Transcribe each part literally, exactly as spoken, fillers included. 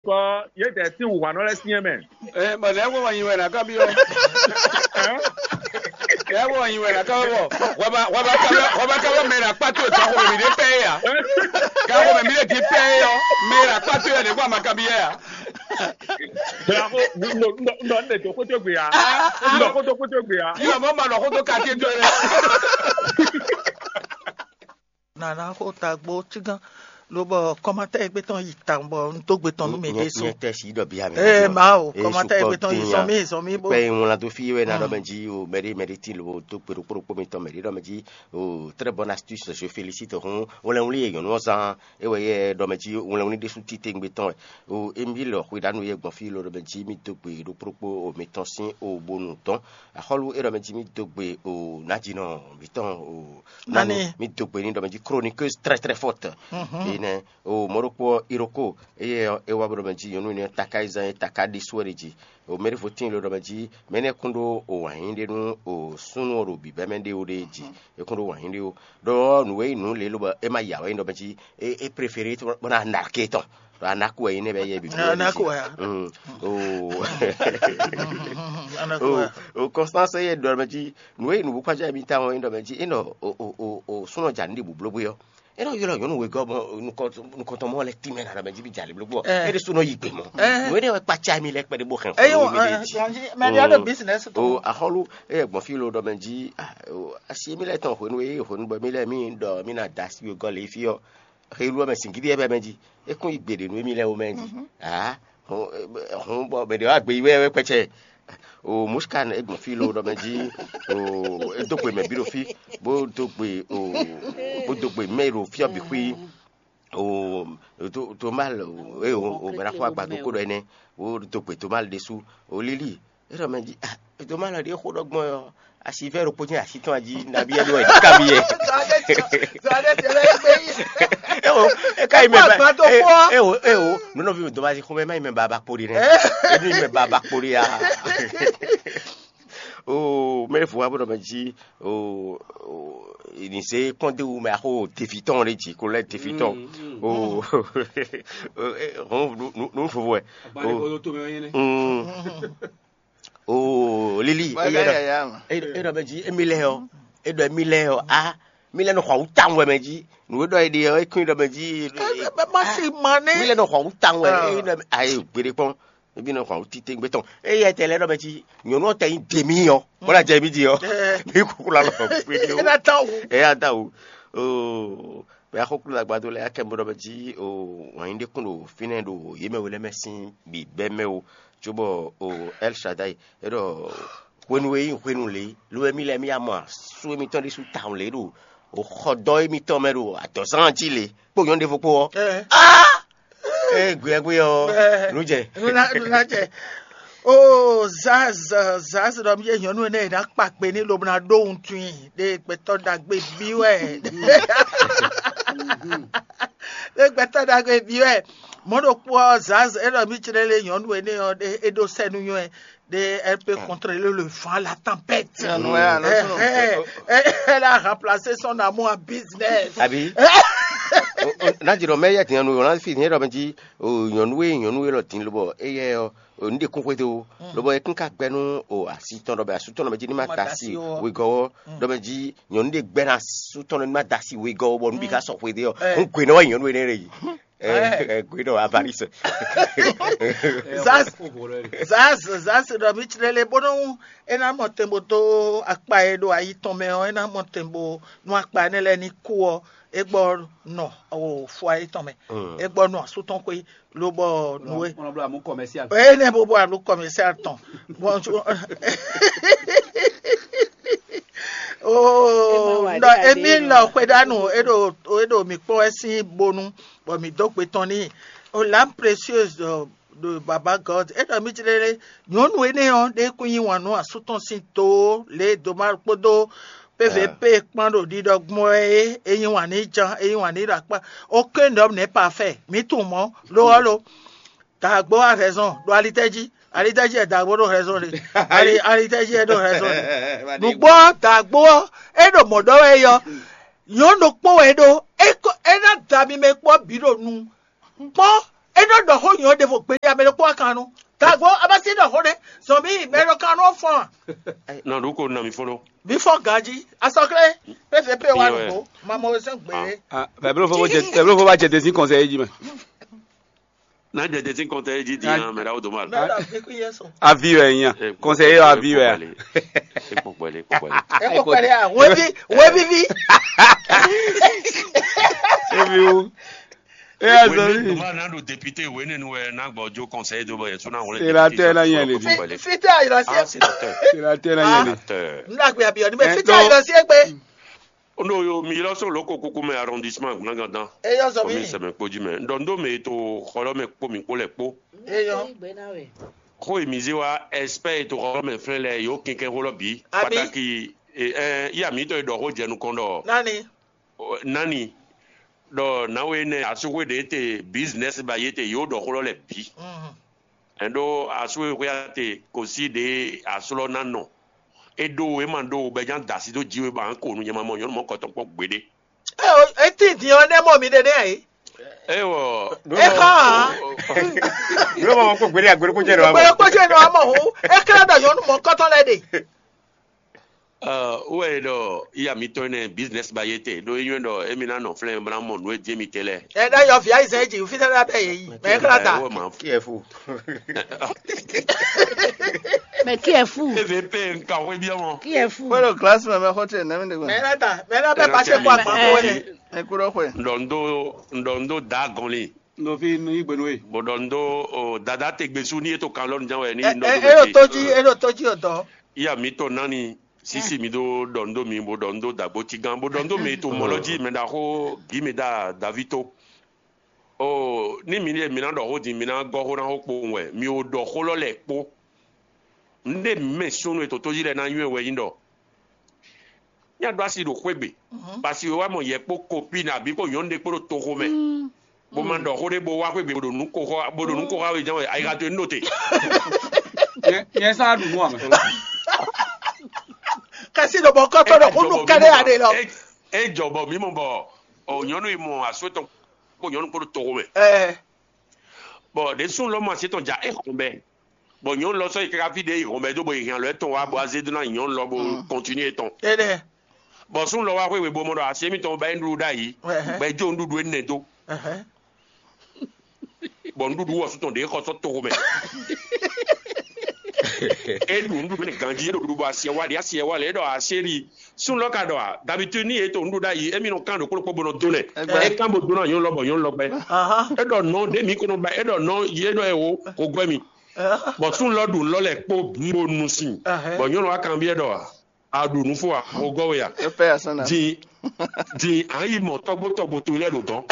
Bɔ yědɛɛ sín wǔhwanɔ lɛ́ɛ syɛ́n mɛ. Ɛ, bɔ nɛ̌ wɔ nyi wɛ nǎ ká byɔ́? Nɛ̌ wɔ nyi wɛ nǎ ká wɔ? Hwɛba hwɛba ká wɔ hwɛba ká wɔ mɛ nǎ kpá towe ká xomɛ mǐ ɖé pɛ́ é ǎ. Ká xomɛ mǐ ɖé dín pɛ́ é ɔ́, mɛ nǎ kpá towe ɔ́, nɛ̌ wɔ ma ká byɔ́ ɛ ǎ? Blako, un ɖɔ un ɖɔ un ɖɔ un ɖe dǒ xótó gbe ǎ. Un ɖɔ xótó xótó gbe ǎ. Yɔ mɔ ma ɖɔ xótó ka ké dó ɛ. Nana xo tagbó cígán, lobɔ kɔmatɛ́ gbé tɔn yi tawun bɔ un dó gbe tɔn nú mɛ ɖésú. Nyɛ tɛ si ɖɔ bia mɛ. Ee, ma o, kɔmatɛ́ gbé tɔn yi zɔn mí zɔn mí bó. Kpɛ wlan dó fi wɛ na ɖɔ mɛ jí o, mɛɖé mɛɖé ti lo dó kpe ɖokpó ɖokpó mitɔn mɛɖé ɖɔ mɛ jí o, très bonne astuce, je félicite hun wlɛnwlí e nyɔ̌nu ɔ́ zán é wɛ yɛ ɖɔ mɛ jí wlɛnwlí ɖésú titewungbe tɔn wɛ. O, Emile Xwedanu yɛ gbɔn fí lo ɖɔ mɛ jí mì dó gbe ɖokpó ɖokpó o mitɔn sín o bonu dɔn. Axɔ́lú é ɖɔ mɛ jí mì dó gbe o nǎjínɔ mǐtɔn o Nani? Mi dó gbe ní ɖɔ mɛ jí chroniqueuse très très forte. Enɛ o mɔɖokpɔ iroko eye é wá bó ɖɔ mɛ jí nyɔnu énɛ́ taká yi zán é taká ɖésú wɛ ɖe jí. O mɛɖé vo tíin lo ɖɔ mɛ jí mɛ énɛ́ kún ɖó o wǎnyí ɖé nú o súnnu ɔ́ ɖo bǐbɛ́ mɛ ɖé o ɖe jí. É kún ɖó wǎnyí ɖé o. Ɖɔ nǔ e nyí nǔ lě lobɔ é ma yà wɛ nyí ɖɔ mɛ jí é é préféré bó ná narke tɔn. Ɖɔ anaku wɛ nyí nɛ́ bɛ yɛ bǐ. Anaku wɛ. Mm. O Anaku wɛ. O Constance yɛ ɖɔ mɛ jí nǔ e nǔ kpájá mi ta ɔ́ é ɖɔ mɛ jí é nɔ o o o o súnɔ jà ní ɖi bǔblógbé ɔ́. É nɔ ylɔ́ nyɔ̌nu wegɔ́ mɔ nukɔntɔn mɔ lɛ tínmɛ ná ɖɔ mɛ jí bí jà lě blógbó ɔ́. É ɖé súnɔ yi gbe mɔ. Nǔ énɛ́ wɛ kpácá mi lɛ kpɛɖé bó hɛn xó mi ɖe jí. Mɛ ɖé ɖo business tɔn. O axɔ́lú é gbɔn fí lo ɖɔ mɛ jí asi mi lɛ tɔn hwenu e hwenu bɔ mi lɛ mi ɖɔ mi ná da asi wegɔ́ lě fí ɔ́. Helu ɔ́ mɛ singídi ɛ bɛ mɛ jí. É kún yi gbeɖe nú émí lɛ́ɛ wú mɛ jí. Aa, hun bɔ mɛ ɖě wá gbe yi wɛ wɛ kpɛcɛ. O Muskan é gbɔn fí lo ɖɔ mɛ jí. O é dó gbe mɛ bí ɖo fí, bó dó gbe o bó dó gbe mɛ ɖo fí ɔ́ bǐ xwí. O Tomal é o o mɛ ná xɔ agbadó kó ɖɔ énɛ́. O dó gbe Tomal ɖésú. O Lili é ɖɔ mɛ jí. Tomal ɖě xó ɖɔ gbɔn ɔ́. Asi vɛ ɖokpó jɛ́n asi tɔn jí nabí ɛ ɖo ɛ ká mi yɛ. Zɔɖe tɛlɛ gbé yi. Ewo, e ka yi mɛ ba. Gba to kpɔ. Ewo ewo, nunɔvi mi dɔmasi xɔmɛ ma yi mɛ ba ba kpo ɖi nɛ. Ebi mɛ ba ba kpo ɖi ya. O mɛ fo wa bɔ mɛ jí o o ìnìsɛ kpɔn de wu mɛ axo tefi tɔn ɖe jí ko lɛ tefi tɔn. O hɔn nu nu fo wɛ. O. Oo Lili, é ɖɔ mɛ jí émi lɛ ɔ́, é ɖɔ émi lɛ ɔ́, a mi lɛ nɔ xɔ awú tawun wɛ mɛ jí. Nǔ e ɖɔ é ɖe ɔ́, é kún ɖɔ mɛ jí. Má sì mɔ ní. Mi lɛ nɔ xɔ awú tawun wɛ, é ɖɔ ayi gbeɖé kpɔn. Ebi nɔ xɔ awú titewungbe tɔn. Eye tɛ lɛ ɖɔ mɛ jí nyɔ̌nu ɔ́ tɛ nyí dèmí ɔ́, bó ná jɛ mí jí ɔ́, mi kúkú la lɔ gbeɖé o. É ná tán wú. É ná tán wú. Oo. Bɛ axɔkúlú agbadó lɛ́ɛ akɛ bó ɖɔ mɛ jí o wǎn yí ɖé kún ɖo fínɛ́ ɖo yě mɛ we lɛ́ɛ mɛ sín bǐbɛ́ mɛ o, cóbɔ o El Shaddai é ɖɔ hwenu e nyí hwenu lě, lo wɛ mí lɛ́ɛ mí ya mɔ asú émítɔn ɖésú tawun lě ɖo o xɔdɔ́ émítɔn mɛ ɖo adɔ̌zán jí lě kpó nyɔ̌nu ɖěvo kpó ɔ́. Ée gbeyɛ́gbé ɔ́, nǔ jɛ. Nuna nuna jɛ. Oo Zaz, Zaz ɖɔ mí yé nyɔ̌nu énɛ́ e ná kpa kpe ní lobo ná ɖó wuntun i ɖe gbɛtɔ́ ɖagbe bí wɛ. Ɖe gbɛtɔ́ ɖagbe bí wɛ. Mɔ̌ ɖokpó ɔ́ Zaz é ɖɔ mí clé lé nyɔ̌nu énɛ́ ɔ́ ɖe é ɖó sɛ́ nú nywɛ́ ɖe elle peut contrôler le vent, la tempête. Elle a remplacé son amour en business. Abi. N'a jɛ ɖɔ mɛ yɛ tiɲɛ nu yɔ n'a fi tiɲɛ ɖɔ mɛ jí o nyɔnu e nyɔnu e lɔ din lobɔ eyɛ ɔ o nu de kún xwete o lobɔ e kún ka gbɛ nu o asi tɔn ɖɔ bɛ asu tɔn ɖɔ mɛ jí ni ma da si wegɔ wɔ ɖɔ mɛ jí nyɔnu de gbɛ na asu tɔn ɖɔ ni ma da si wegɔ wɔ bɔ nu bi ka sɔ xwete ɔ n gwe nɔ wɛ nyɔnu e ne ɖe yi. Ɛ gwe nɔ avarice. Zaz zaz zaz ɖɔ mi tsrɛ le bónú e ná mɔ tɛn bó dó akpa e ɖo ayi tɔn mɛ ɔ e ná mɔ tɛn bó nú akpa énɛ́ lɛ́ɛ ní kú ɔ, é gbɔ nɔ o fua yětɔn mɛ, é gbɔ nɔ asú tɔn xwé lobɔ nǔ e. Ɔnɔ bló amú commercial. Eye ne bo bo alo commercial tɔn. Bon, oh, non, Emile Xwedanu eɖo eɖo mi kpɔn wɛ sín bonu bɔ mi dó gbe tɔn ní. Oh, l'âme précieuse de, de Baba God eɖɔ mi jlɛ lé nyɔnu énɛ́ ɔ́ ɖe kún yí wǎn nú asú tɔn sín to lě doma kpódó P V P kpán ɖo ɖiɖɔ gbɔn wɛ é, é yí wǎn ní ján, é yí wǎn ní ɖo akpá. Aucun homme n'est parfait. Mǐ tunwun mɔ̌, lo ɔ́ lo. Dǎgbó wá hɛzɔn ɖo alitɛ́ jí. Alitɛ́ jí wɛ dǎgbó ɖo hɛzɔn ɖe. Ali alitɛ́ jí wɛ ɖo hɛzɔn ɖe. Nǔgbó ɔ́, dǎgbó ɔ́, é ɖo mɔ̌ ɖɔ wɛ é yɔ. Nyɔ̌nu ɖokpó wɛ é ɖó. É kɔ é ná da mi mɛ kpɔ́ bǐ ɖo nu. Kpɔ́ É nɔ ɖɔ xó nyɔ̌ ɖěvo gbeɖé amɛ ɖokpó wá kan nú. Tagbo abasi ɖɔ xó ɖé, zɔn mì mɛ ɖo kan nú fɔn a? Nɔ ɖu ko nɔ mi fɔlɔ. Bí fɔ ganjí, asɔklé, P V P wa nǔgbó, mamɔ wɛ sɛn gbé. Bɛblo fo bá jɛ desi kɔnsɛ yé jí mɛ. N'a jɛ desi kɔntɛ yé jí di yan mɛ ɖawo doma. Mɛ ɖɔ fi kú yɛ sɔn. Avi wɛ nya. Kɔnsɛ yé avi wɛ. Ekpɔkpɔli ekpɔkpɔli. Ẹ kò pẹ̀lẹ́ à, wébi wébi bí. Ebi wo. Eya zɔli. Doma n'a ɖo député wé nínú wɛ n'a gbɔ jó conseil dó bɔ yɛ tún n'a wọlé. Sénateur la yẹn le di. Fitɛ ayirasi Ah sénateur. Sénateur la yẹn le. Sénateur. N dàgbé àbíyọ níbẹ̀ Ẹ, fitẹ donc- ayirasi ẹgbẹ́. Ono yo mi lɔ so loko kuku mɛ arrondissement gblangandan. Eyɔ zɔ Komi mi. Sɛmɛ kpó jí mɛ. Ndɔ ndo mɛ to xɔlɔ mɛ kpó mi kpó lɛ kpó. Eyɔ. Xó yi mi zé wa expert to xɔlɔ mɛ flɛn lɛ yo kɛnkɛn xó lɔ bǐ. Abi. Pataki ɛ iya mi tɔ yi ɖɔ xó jɛ nukɔn ɖɔ. Nani. Nani ɖɔ nawe nɛ asúxwé ɖe te business ba yé te yóò ɖɔ xó lɔ lɛ bǐ. Mhm. Ɛn ɖó asúxwé xwé ya te kò sí ɖe aslɔ ná nɔ. É ɖó e ma ɖó bɛ nya da asi dó jí we ba ko nu nyɛ ma mɔ nyɔnu mɔ kɔtɔn kpɔ gbeɖe. Ẹ o, etí dín ɔ nẹ mọ mi ɖe nẹ ayi. Ewɔ. Ẹ kàn án. Yóò máa kó gbélé àgbélé kó jẹ́ ìrọ̀ àmọ́. Gbẹ̀rẹ̀ kpọ́jọ́ inú ọmọ òun, ẹ kẹ́rẹ́ dọ̀ yọnu mọ kọ́tọ́ lẹ ɖe. Wɛ ɖɔ iya mi tɔ nɛ business ba yé te ɖó yín ɖɔ emi ná nɔ flɛn bla mɔ nú e jɛ mi te lɛ. Ẹ ɖe yɔ via izɛ dzi fi sɛ ɖe abɛ yɛ yi. Mɛ kla ta. Wɔ ma. Kí ẹ fún. Mais qui est fou? Eve pe nka xwe biɛ mɔ. Qui est fou? Kpɔɖo glasi mɛ mɛ xɔ tse nɛmi de gbɛ. Mɛ la ta. Mɛ la bɛ pase kɔ akpa ko wɛ. Ekuro xwe. Ndɔ ndo ndɔ ndo da gɔnli. Nɔ fi nu yi gbenu ye. Bɔ ɖɔ ndo o dada te gbesu ni eto kan lɔnu jan wɛ ni Ɛ ndɔ ɛ do ero bɛ toji ero toji o dɔ. Iya mi tɔ nani sisi mi do ɖɔ ndo mi bo ɖɔ ndo dagbo ti gan bo ɖɔ ndo mi to mɔlɔ ji mɛ da xo gi mi da davi to. O ni mi ɖe mi na ɖɔ xo din mi na gɔ xo na xo kpo wɛ mi o ɖɔ xo lɔ lɛ kpo. Nde mi mɛ sunu eto toji lɛ na nyuɛ wɛ nyi ɖɔ. Nya ɖo asi ɖo xwegbe. Parce que wa mɔ yɛ kpo kopi na bi ko nyɔnu ɖe kpo ɖo toxo mɛ. Bó ma ɖɔ xó ɖé bó wá xwé gbe bó ɖo nú ko xɔ bó ɖo nú ko xɔ awe jɛn wɛ ayixa to enu ɖo te. Nyɛ sá ɖu nú amɛ. Kasi ɖo bɔ kɔtɔ ɖo kunu kɛɖe aɖe lɔ. E jɔ bɔ mi mɔ bɔ o nyɔnu yi mɔ asu etɔn kó nyɔnu kó ɖo toxo mɛ. Ɛɛ Bɔn ɖe sun lɔ mɔ asi etɔn ja e xɔn bɛ bɔn nyɔnu lɔ sɔ yi kaka fi ɖe yi xɔn bɛ do bɔ yi hian lɔ etɔn wa bɔ aze do na nyɔnu lɔ bo kɔntinu etɔn. Ɛnɛ. Bɔn sun lɔ wa xwé we bo mɔ ɖɔ asi emitɔn ba yi nuɖuɖu ɖ'ayi. Bɔ e jo nuɖuɖu enɛ do. Bɔ nuɖuɖu wɔ sutɔn ɖe xɔ sɔ toxo mɛ. E ɖu nuɖuɖu ne ganji e ɖo ɖuɖu bɔ asiɛ wa ɖi asiɛ wa lɛ e ɖɔ asiɛ ɖi. Sun lɔ ka ɖɔ a dabitudi ni e to nuɖuɖu ɖ'ayi emi nɔ kan ɖo kplɔkpɔ bo nɔ do nɛ. E kan bo do na nyɔnu lɔ bɔ nyɔnu lɔ gbɛ. E ɖɔ nɔ ɖe mi ko nɔ ba e ɖɔ nɔ ye ɖɔ e wo ko gbɛ mi. Bɔ sun lɔ ɖu lɔ lɛ kpo bo nu sin. Bɔ nyɔnu wa kan biɛ ɖɔ a. A ɖu nu fó wa? O gɔ́ we a? E pɛ ya sɔn na. Din din a yi mɔ tɔgbo tɔgbo to lɛ ɖo dɔn.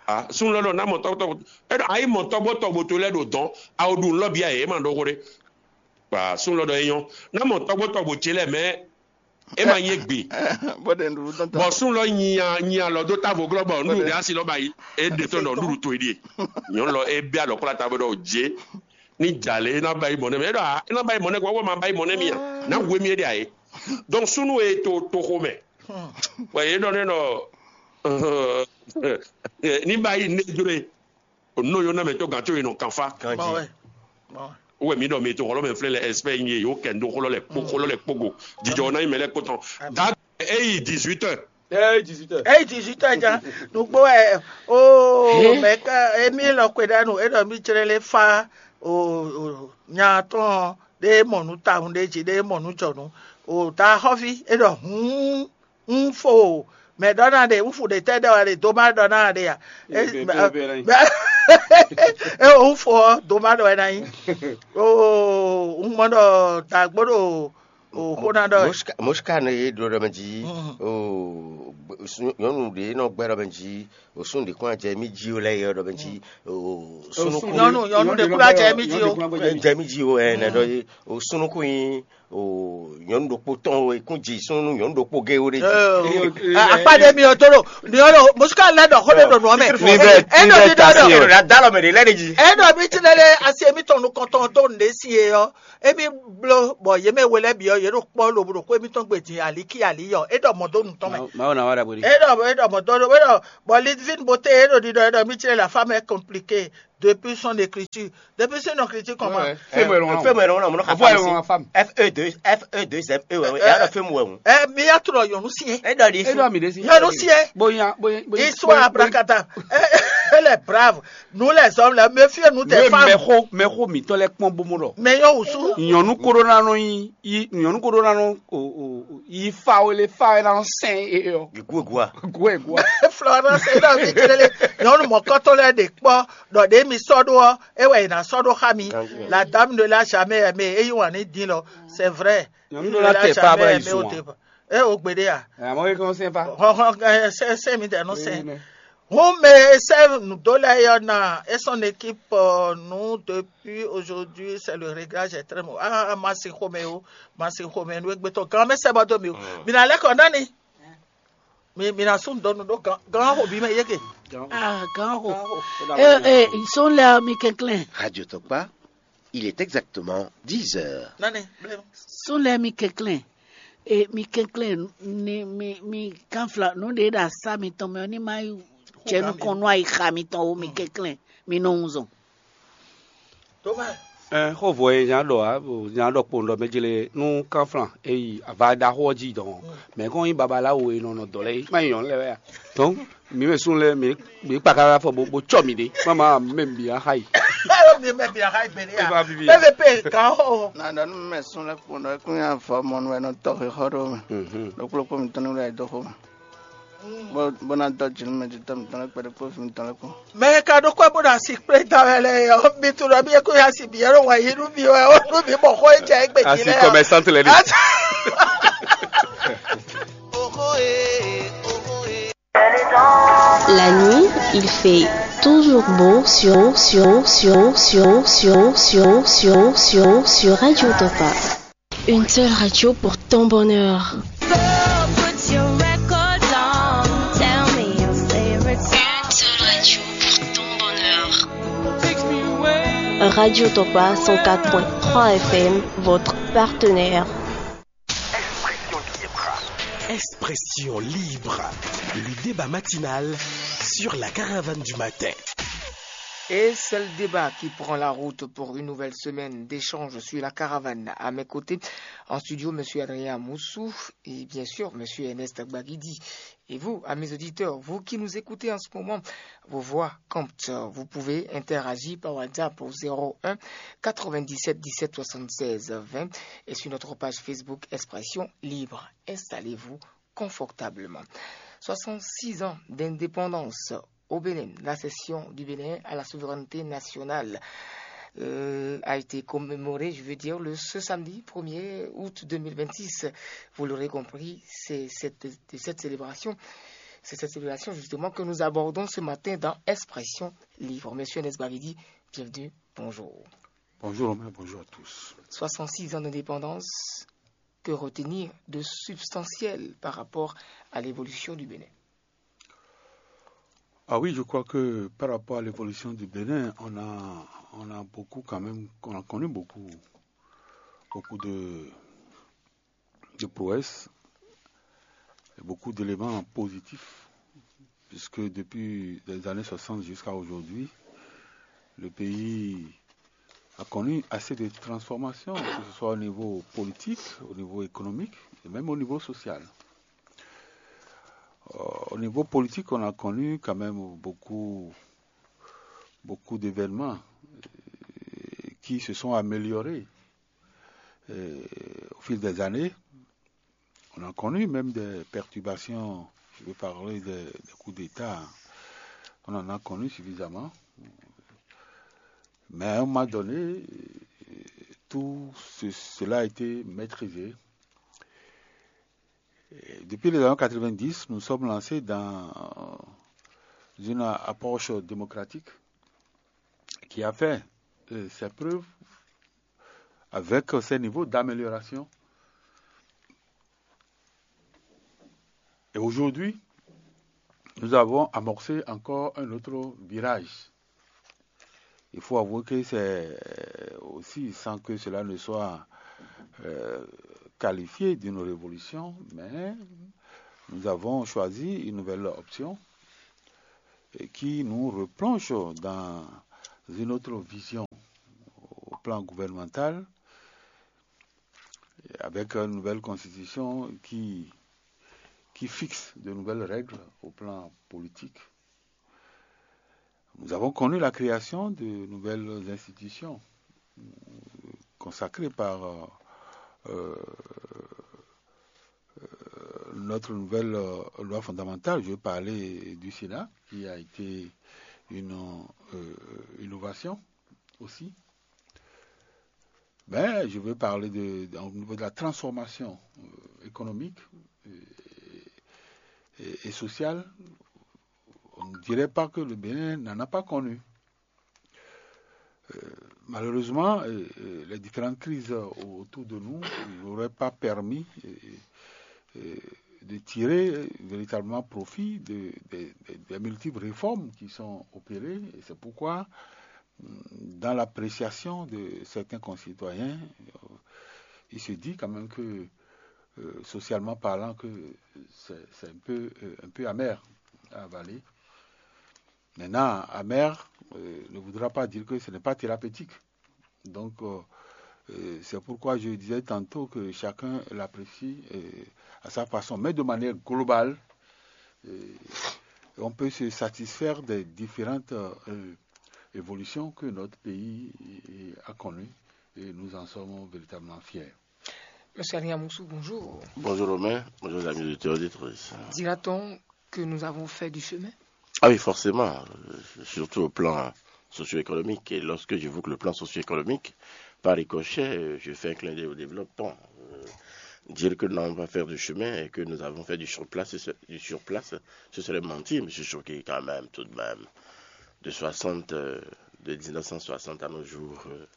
A sun lɔ ɖɔ na mɔ tɔgbo tɔgbo e ɖɔ a yi mɔ tɔgbo tɔgbo to lɛ ɖo dɔn. A o ɖu nu lɔ bia yɛ e ma ɖɔ xo ɖe. Ba sun lɔ ɖɔ e nyɔ na mɔ tɔgbo tɔgbo ce lɛ mɛ e ma nyɛ gbe. Bó de nɖuɖu tɔn tɔn. Bɔ sun lɔ nyi a nyi alɔ do tavo glɔ bɔ nuɖuɖu ɖe asi lɔ ba yi. E ɖe tɔn ɖɔ nuɖuɖu to yi ɖie. Nyɔnu lɔ e bia alɔ kpla tavo ɖɔ o je. Ni jalè e na ba yi mɔ nɛ mɛ e ɖɔ a e na ba yi mɔ nɛ kɔ wɔ ma ba yi mɔ nɛ mi a na wu emi e ɖe a ye. Donc sunu e to toxo mɛ bɔ ye ɖɔ ne nɔ ni ba yi ne jro ye o no yo na mɛ to gan to ye nɔ kanfa. Kanji. Bɔn wɛ. Wɛ mi ɖɔ mi to xɔlɔ mɛ flɛ lɛ expert nyi ye yo kɛ ndo xɔlɔ lɛ kpo xɔlɔ lɛ kpogo jijɔ na yi mɛ lɛ kpotɔn da eyi dix-huit heures. Ɛ dix-huit heures. Eyi dix-huit heures ja nugbo ɛ o mɛ ka emi lɔ kwe ɖa nu e ɖɔ mi tsere le fa o o nya tɔn ɖe mɔ nu ta hun ɖe dzi ɖe mɔ nu jɔ nu o ta xɔvi e ɖɔ hun un fo mɛ ɖɔ na ɖe un fu ɖe tɛ ɖɔ wɛ ɖe do ma ɖɔ na ɖe ya e Ebe, ebe, ebe, ebe. e un fo ɔ do ma ɖɔ wɛ na nyi o un mɔ ɖɔ dagbo ɖo o xo na ɖɔ wɛ. Moska ne ye ɖo ɖɔ mɛ dzi o nyɔnu ɖe nɔ gbɛ ɖɔ mɛ dzi o sun ɖe kɔn jɛ mi dzi o lɛ yɛ ɖɔ mɛ dzi o sunu Nyɔnu nyɔnu ɖe kura jɛ mi dzi o. Jɛ mi dzi o ɛ nɛ ɖɔ ye o sunu ko yin o nyɔnu ɖokpo tɔn o ekun dzi sunu nyɔnu ɖokpo ge o ɖe dzi. Akpa ɖe mi o to ɖo ni o ɖo mosuka lɛ ɖɔ xo ɖe ɖo nua mɛ. Ni bɛ E ni ɖɔ bɛ mi ɖɔ tasi ɖɔ. o la da lɔ mɛ de lɛ de dzi. E ɖɔ mi ti lɛ ɖe asi emi tɔn nukɔntɔn do ne si ye yɔ emi blo bɔ ye mɛ wele bi yɔ ye ɖo kpɔ lobo ɖo ko emi tɔn gbe din ali ki ali yɔ e ɖɔ mɔ do nu tɔn mɛ. Mawu Ná wá ɖagbe ɖi. E ɖɔ e ɖɔ mɔ̌ dɔn ɖo e ɖɔ bɔ Lidvin Boté e ɖo ɖiɖɔ e ɖɔ mí tlɛ la femme est compliquée depuis son écriture. Depuis son écriture comment? Ouais, ouais. Fais-moi le nom. Fais-moi le nom, mon nom. Envoie-le à ma femme. F E deux, F E deux M E, ouais, ouais. Et alors, fais-moi, ouais. Eh, mi ya trɔ yɔnu si ye. E ɖɔ ɖi. E ɖɔ mi ɖe si. Yɔnu si ye. Bonya, bonya, bonya. Histoire abracadabra. Eh, elle est brave. Nous les hommes là, méfiez-nous des femmes. Mɛxó mɛxó mǐtɔn lɛ́ kpɔ́n bó mɔ ɖɔ. Mais yɔn wusu. Nyɔnu koɖó ná nɔ yi yi nyɔnu koɖó ná nɔ o o yi fa wele fa wɛ ná nɔ sɛn e ɔ. Gua. Gua gua. Florence e ɖɔ mi tlele nyɔnu mɔkɔtɔ lɛ ɖe kpɔ ɖɔ ɖe mi sɔ ɖo ɔ e wɛ yi na sɔ ɖo xa mi. La dame ne l'a jamais aimé e yi wan ni din lɔ. C'est vrai. Nyɔnu ɖo la tɛ pa bla yi zun. E o gbe ɖe ya. Amɔ e kɔn sɛn pa. Hɔn hɔn sɛ sɛ mi tɛ nɔ sɛn. Hun mɛ e sɛ nǔdó lɛ́ɛ ɔ́ ná é sɔ́ n'équipe nǔ depuis aujourd'hui c'est le réglage est très mauvais. Ah, ma sin xomɛ o, ma sin xomɛ nú égbé tɔn gán mɛ sɛ bɔ dó mi o. Mi ná lɛ́ kɔ nani. Mi mi ná sún dɔnnu ɖó gán gán xo bí mɛ yége. Ah, gán xo. Eh, eh, sɔn lɛ mi kɛnklɛn. Radio Tɔkpa, il est exactement dix heures. Nani blé. Sɔn lɛ mi kɛnklɛn. E mi kɛnklɛn ni mi mi kanfla nǔ ɖe ɖo asá mitɔn mɛ ɔ́ ní má yi jɛ nukɔn nú ayixa mitɔn ó, mi kɛnklɛn mi nɔ wunzɔn. Ɛ xó vɔ e nya ɖɔ ǎ nya ɖɔ kpowun ɖɔ mɛ jlé nú kanflan e yi ava ɖaxó ɔ́ jí dɔn ɔ́, mɛ kɔn nyí babaláwo e nɔ nɔ dɔ̌ lɛ́ɛ é má nyí nyɔ̌nu lɛ́ɛ wɛ a? Donc mi mɛ sún lɛ́ɛ mi mi kpaka afɔ bó bó cɔ mi ɖe má má mɛ mi axa yi. Alo mi mɛ bi aha igbele E va ya vivi. P V P kan o. Na ɖɔ nú mɛ sún lɛ́ kpɔ́n ɖɔ é kún nyi avɔ mɔnu wɛ nɔ tɔ xixɔ ɖó mɛ. Mhm. Ɖokplɔ́kpó mitɔn ní wlɛ́ dó xó mɛ. Bó bó ná dɔ jǐnú mɛ jítɔ́ mitɔn lɛ́ kpɛɖé kpó vǐ mitɔn lɛ́ kpó. Mɛ e ka ɖó kɔ́ bó ɖo asi kplé da wɛ lɛ ɔ́, mi tunɔ mi e kó ya si bǐ ɛ́ ɖo wɛ yi nú mi wɛ ó nú mi mɔ xó e jɛ égbé jí Asi lɛ ɔ́. Commerçante lɛ ɖi. La nuit, il fait toujours beau sur, sur, sur, sur, sur, sur, sur, sur Radio Topa. Une seule radio pour ton bonheur. Une seule radio pour ton bonheur. Radio Topa cent quatre point trois F M, votre partenaire. Expression libre, le débat matinal sur la caravane du matin. Et c'est le débat qui prend la route pour une nouvelle semaine d'échanges sur la caravane. À mes côtés, en studio, monsieur Adrien Moussou et bien sûr monsieur Ernest Gbagidi. Et vous, à mes auditeurs, vous qui nous écoutez en ce moment, vos voix comptent. Vous pouvez interagir par WhatsApp au zéro un quatre-vingt-dix-sept dix-sept soixante-seize vingt et sur notre page Facebook Expression Libre. Installez-vous confortablement. Soixante-six ans d'indépendance au Bénin, l'accession du Bénin à la souveraineté nationale euh, a été commémorée, je veux dire, le, ce samedi premier août deux mille vingt-six. Vous l'aurez compris, c'est cette, cette célébration, c'est cette célébration justement que nous abordons ce matin dans Expression Libre. Monsieur Nesbavidi, bienvenue, bonjour. Bonjour Romain, bonjour à tous. Soixante-six ans d'indépendance, que retenir de substantiel par rapport à l'évolution du Bénin? Ah oui, je crois que par rapport à l'évolution du Bénin, on a, on a beaucoup quand même, on a connu beaucoup, beaucoup de, de prouesses, et beaucoup d'éléments positifs, puisque depuis les années soixante jusqu'à aujourd'hui, le pays a connu assez de transformations, que ce soit au niveau politique, au niveau économique et même au niveau social. Euh, au niveau politique, on a connu quand même beaucoup, beaucoup d'événements euh, qui se sont améliorés euh, au fil des années. On a connu même des perturbations, je vais parler des, des coups d'État. On en a connu suffisamment. Mais à un moment donné, tout ce- cela a été maîtrisé. Et depuis les années quatre-vingt-dix, nous sommes lancés dans une approche démocratique qui a fait euh, ses preuves avec ces niveaux d'amélioration. Et aujourd'hui, nous avons amorcé encore un autre virage. Il faut avouer que c'est aussi, sans que cela ne soit euh, qualifié d'une révolution, mais Nous avons choisi une nouvelle option et qui nous replonge dans une autre vision au plan gouvernemental, avec une nouvelle constitution qui, qui fixe de nouvelles règles au plan politique. Nous avons connu la création de nouvelles institutions, euh, consacrées par euh, euh, notre nouvelle euh, loi fondamentale. Je veux parler du Sénat, qui a été une euh, innovation aussi. Mais je veux parler de, de- au niveau de la transformation euh, économique euh, et, et sociale. On ne dirait pas que le Bénin n'en a pas connu. Euh, malheureusement, euh, euh, les différentes crises autour de nous n'auraient pas permis euh, euh, de tirer véritablement profit de- de- de- des multiples réformes qui sont opérées. Et c'est pourquoi, dans l'appréciation de certains concitoyens, euh, il se dit quand même que, euh, socialement parlant, que c'est c'est un peu, euh, un peu amer à avaler. Maintenant, amer euh, ne voudra pas dire que ce n'est pas thérapeutique. Donc, euh, euh, c'est pourquoi je disais tantôt que chacun l'apprécie euh, à sa façon. Mais de manière globale, euh, on peut se satisfaire des différentes euh, évolutions que notre pays euh, a connues et nous en sommes véritablement fiers. Monsieur Adrien Moussou, bonjour. Bonjour Romain, bonjour les amis auditeurs et auditrices. Dira-t-on que nous avons fait du chemin? Ah oui, forcément, euh, surtout au plan socio-économique. Et lorsque j'évoque le plan socio-économique, par ricochet, euh, je fais un clin d'œil au développement. Euh, dire que nous allons pas faire du chemin et que nous avons fait du surplace, ce- du surplace, ce serait mentir, monsieur Choquet, quand même, tout de même. De soixante, euh, de dix-neuf cent soixante à nos jours, euh,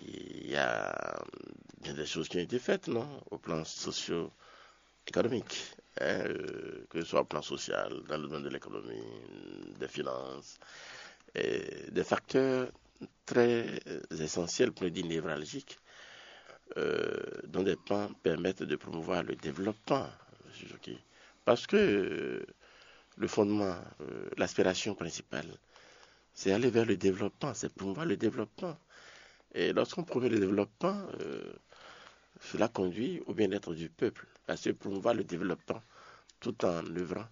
il y a bien des choses qui ont été faites, non, au plan socio-économique, hein, euh, que ce soit au plan social, dans le domaine de l'économie, des finances, et des facteurs très essentiels, pour ne dire névralgiques, euh, dont des pans permettent de promouvoir le développement, monsieur Jockey. Parce que euh, le fondement, euh, l'aspiration principale, c'est aller vers le développement, c'est promouvoir le développement. Et lorsqu'on promeut le développement, euh, cela conduit au bien-être du peuple, parce que promouvoir le développement tout en œuvrant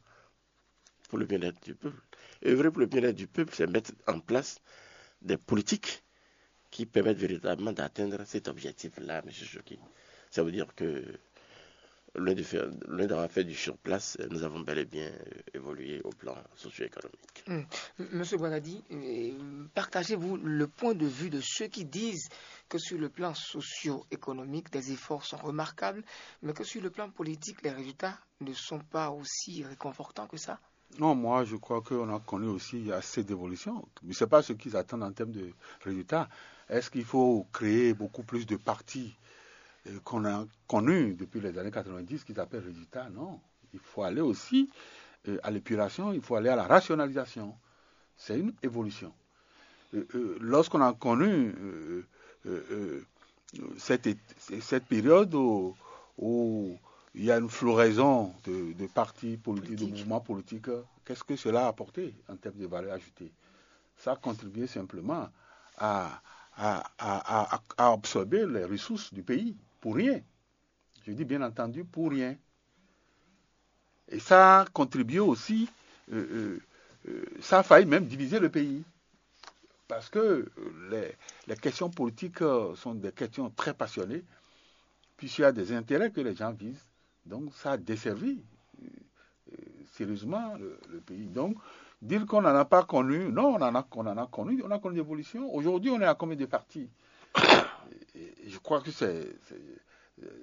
pour le bien-être du peuple. Œuvrer pour le bien-être du peuple, c'est mettre en place des politiques qui permettent véritablement d'atteindre cet objectif-là, monsieur Choquet. Ça veut dire que loin de faire- loin d'avoir fait du surplace, nous avons bel et bien euh, évolué au plan socio-économique. Monsieur Boigadi, euh, partagez-vous le point de vue de ceux qui disent que sur le plan socio-économique, des efforts sont remarquables, mais que sur le plan politique, les résultats ne sont pas aussi réconfortants que ça? Non, moi, je crois qu'on a connu aussi assez d'évolution. Mais ce n'est pas ce qu'ils attendent en termes de résultats. Est-ce qu'il faut créer beaucoup plus de partis euh, qu'on a connus depuis les années quatre-vingt-dix, qu'ils appellent résultats? Non. Il faut aller aussi euh, à l'épuration, il faut aller à la rationalisation. C'est une évolution. Euh, euh, Lorsqu'on a connu euh, euh, euh, cette, cette période où, où il y a une floraison de, de partis politiques, de Politique. Mouvements politiques, qu'est-ce que cela a apporté en termes de valeur ajoutée? Ça a contribué simplement à, à, à- à- à absorber les ressources du pays pour rien. Je dis bien entendu pour rien. Et ça a contribué aussi, euh, euh, euh, ça a failli même diviser le pays. Parce que euh, les, les questions politiques euh, sont des questions très passionnées, puisqu'il y a des intérêts que les gens visent. Donc ça a desservi euh, euh, sérieusement le, le pays. Donc dire qu'on n'en a pas connu, non, on en a, on en a connu, on a connu l'évolution. Aujourd'hui, on est à combien de partis? Et- et je crois que c'est c'est-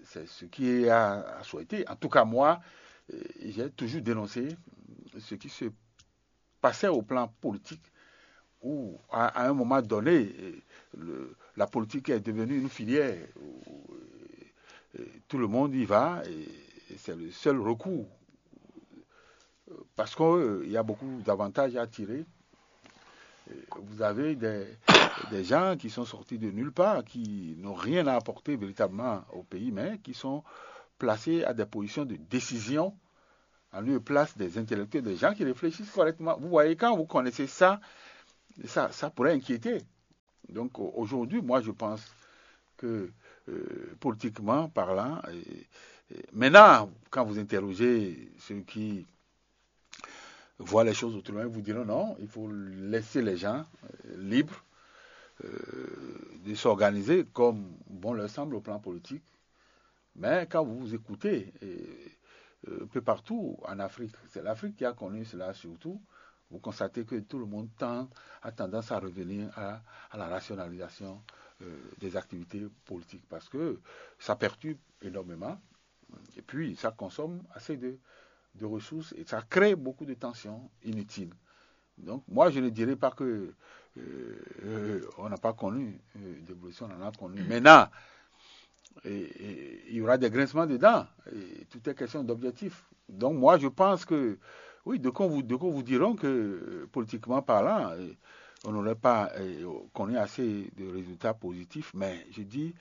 c'est ce qui est à, à souhaiter. En tout cas, moi, euh, j'ai toujours dénoncé ce qui se passait au plan politique, où à, à un moment donné, euh, le- la politique est devenue une filière où euh, euh, tout le monde y va et, et c'est le seul recours. Parce qu'il y a beaucoup d'avantages à tirer. Euh, Vous avez des, des gens qui sont sortis de nulle part, qui n'ont rien à apporter véritablement au pays, mais qui sont placés à des positions de décision, en lieu et place des intellectuels, des gens qui réfléchissent correctement. Vous voyez, quand vous connaissez ça, ça, ça pourrait inquiéter. Donc aujourd'hui, moi, je pense que, euh, politiquement parlant, et, et maintenant, quand vous interrogez ceux qui voient les choses autrement, ils vous diront non, il faut laisser les gens, euh, libres, euh, de s'organiser comme bon leur semble au plan politique. Mais quand vous vous écoutez, et, euh, un peu partout en Afrique, c'est l'Afrique qui a connu cela surtout, vous constatez que tout le monde tend, a tendance à revenir à, à la rationalisation, euh, des activités politiques parce que ça perturbe énormément et puis ça consomme assez de, de ressources et ça crée beaucoup de tensions inutiles. Donc moi, je ne dirais pas que, euh, euh, on n'a pas connu, euh, d'évolution, on en a connu. Maintenant, et, et il y aura des grincements de dents. Et tout est question d'objectif. Donc moi, je pense que, oui, de qu'on vous, de qu'on vous diront que, euh, politiquement parlant, euh, on n'aurait pas, euh, connu assez de résultats positifs, mais je dis,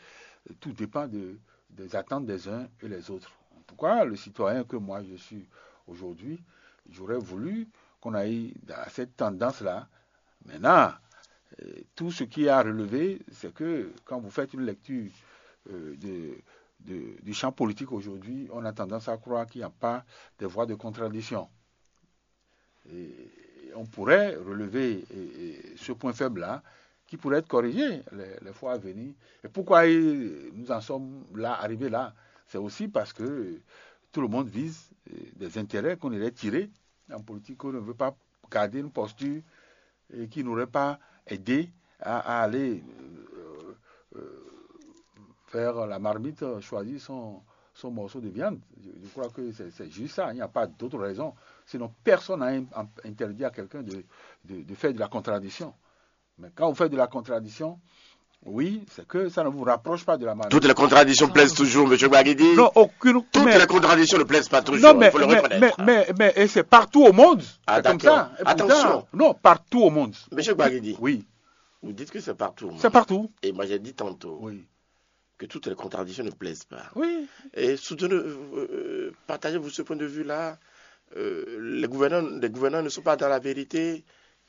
euh, tout dépend de, des attentes des uns et les autres. En tout cas, le citoyen que moi je suis aujourd'hui, j'aurais voulu qu'on aille dans cette tendance-là. Maintenant, euh, tout ce qui est à relever, c'est que quand vous faites une lecture, euh, de, de, du champ politique aujourd'hui, on a tendance à croire qu'il n'y a pas des voies de contradiction. Et on pourrait relever, et, et ce point faible-là, qui pourrait être corrigé les, les fois à venir. Et pourquoi il- nous en sommes là, arrivés là? C'est aussi parce que tout le monde vise, euh, des intérêts qu'on irait tirer en politique, qu'on ne veut pas garder une posture et qui n'aurait pas aidé à, à aller, euh, euh, faire la marmite, choisir son, son morceau de viande. Je, je crois que c'est c'est juste ça, il n'y a pas d'autre raison. Sinon, personne n'a in- interdit à quelqu'un de, de, de faire de la contradiction. Mais quand vous faites de la contradiction, oui, c'est que ça ne vous rapproche pas de la marmite. Toutes les contradictions plaisent toujours, monsieur Gbagidi. Non, aucune. Toutes mais- les contradictions ne plaisent pas toujours, non, mais, il faut le mais, reconnaître. mais, mais, mais- et c'est partout au monde. Ah, C'est comme d'accord. Ça. Et pourtant- Attention. Non, partout au monde. Monsieur Gbagidi, Oui, vous dites que c'est partout au monde. C'est partout. Et moi, j'ai dit tantôt Oui, que toutes les contradictions ne plaisent pas. Oui. Et soutenez, euh, partagez-vous ce point de vue-là. Euh, les, gouvernants, les gouvernants ne sont pas dans la vérité.